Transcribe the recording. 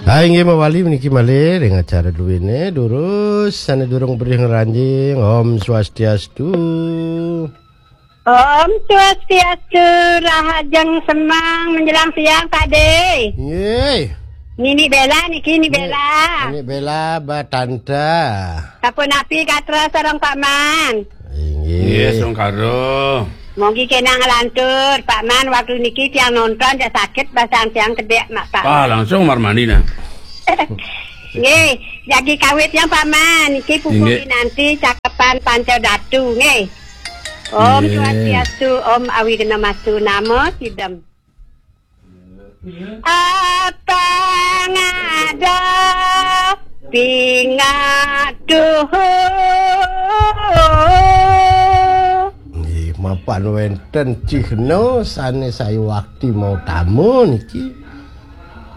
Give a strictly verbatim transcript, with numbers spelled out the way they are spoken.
Hai, inggih mawali meniki malih ring acara duene durus sane durung berih ngranjing. Om Swastiastu. Om Swastiastu, rahajeng semeng menjelang siang, Pak De. Nggih. Nini Bella niki, Nini Bella. Nini Bella, Batanta. Sapunapi gatra sareng Pak Man? Inggih. Nggih, sungkara. Mugi kenang lantur, Pak Man, waktu niki tiang nonton ya sakit basang tiang kedek, Mak Pak. Ah, langsung marmani nah. Nggih, jagi kawit yang Pak Man, niki pupuk Nggih. Nanti cakapan Panca Datu, nggih. Om Nggih. Swastiastu, Om Awighnamastu, Namo Sidam. Apa ngada pingatuh. Nggih, mapan wenten cihna sane sayuwakti mau tamu niki.